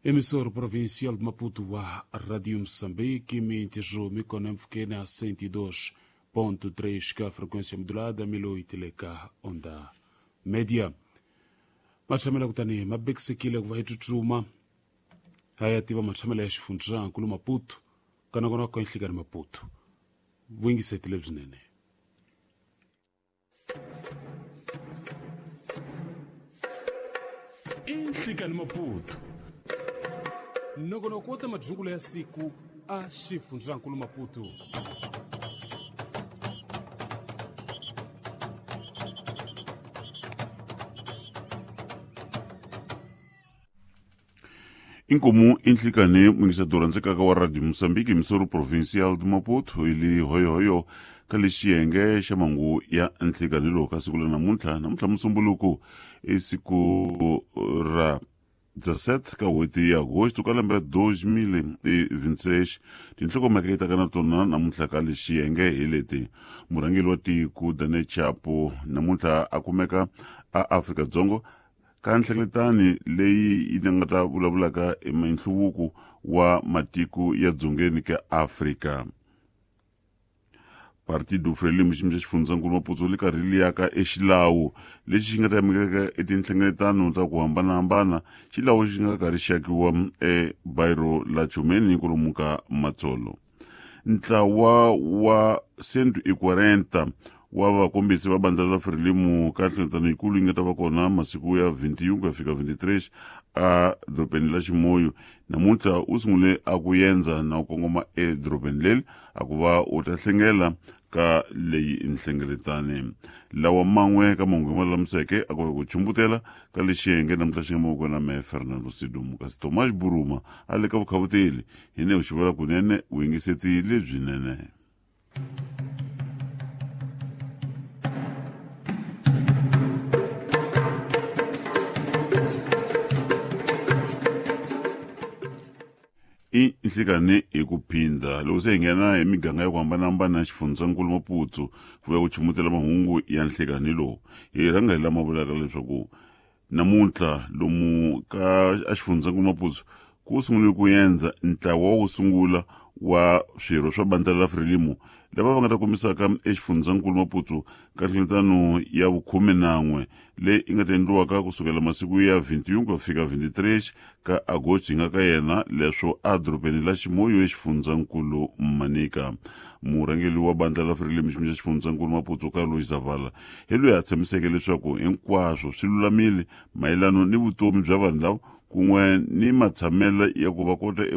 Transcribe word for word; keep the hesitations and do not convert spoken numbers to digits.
Emissora provincial de Maputo wa Rádio Moçambique, emite mikono mfukene a cento e dois ponto três ka frequência modulada, mil e oito ka onda média. Mathamela kutani mabekisekile kuva hi tsutsuma haya tiva mathamela ya xifundzankulu Maputo kana kona ka nhlikani Maputo vuyingisetile lebyinene. Inhlikani Maputo nongonoko wa ta madzukulo ya siku a xifundzankulu Maputo. Inkomu inhlikani mungisadora ndzekaka wa Radio Moçambique emissora provincial de Maputo ili hoyohoyo ka lexiyenge xa mangu ya nhlikani lowu ka siku la namuntlha namuntlha musumbuluku i siku ra dezessete ka n'hweti ya agosto ka lembe ra dois mil e vinte e seis. Tinhlokomhaka yi taka na tona namuntlha ka lexiyenge hi leti: murhangeri wa tiko Daniel Chapo namuntlha a kumeka a Afrika-Dzonga ka nhlengeletano leyi yi nga ta vulavulaka hi nhluvuko wa matiko ya dzongeni ka Afrika. Partido Frelimo xiyimo xa xifundzankulu Maputo li karhi li yaka exilawu lexi xi nga ta yamukeka etinhlengeletano ta ku hambanahambana, xilawu xi nga karhi xi akiwa ebairo la Chumeni kwalomu ka Matsolo. Ntlawa wa cento e quarenta wa vakombisi va bandla la Frelimo ka nhlengeletano yikulu yi nga ta va kona masiku ya vinte e um ku ya fika vinte e três a dorobeni la Chimoio namuntlha u sungule a ku yendza na ku kongoma edorobeni leri a ku va u ta hlengela ka leyi nhlengeletani. Lawa man'we ka mahungu ma lulamiseke a ku va ku chumbutela ka lexiyenge namuntlha xi nga mavoko na mehe Fernando Sidumo, kasi Tomás Buruma a le ka vukhavuteli hi ne u xivula kunene vuyingiseti lebyinene. I nhlikani hi ku phinda loko se hi nghena hi miganga ya ku hambanahambana ya xifundzankulu Maputo ku ya ku chumutela mahungu ya nhlikani lowu, hi rhanga hi lama vulaka leswaku namuntlha lomu ka a xifundzankulu Maputo ku sungule ku endza ntlawa wo sungula wa swirho swa bandla la Frelimo lava va nga ta kombisaka exifundzankulu Maputo ka nhlengeletano ya vukhume nan'we leyi yi nga ta endliwaka kusukela masiku ya vinte e um ku ya fika vinte e três ka agosto hi nga ka yena leswo a dorobeni la Chimoio exifundzankulu Manica. Murhangeri wa bandla la Frelimo xiyimo xa xifundzankulu Maputo Carlos Zavala hi loyi a tshamiseke leswaku hinkwaswo swi lulamile mayelano ni vutomi bya vanhu lava kun'we ni matshamelo ya ku va kota eku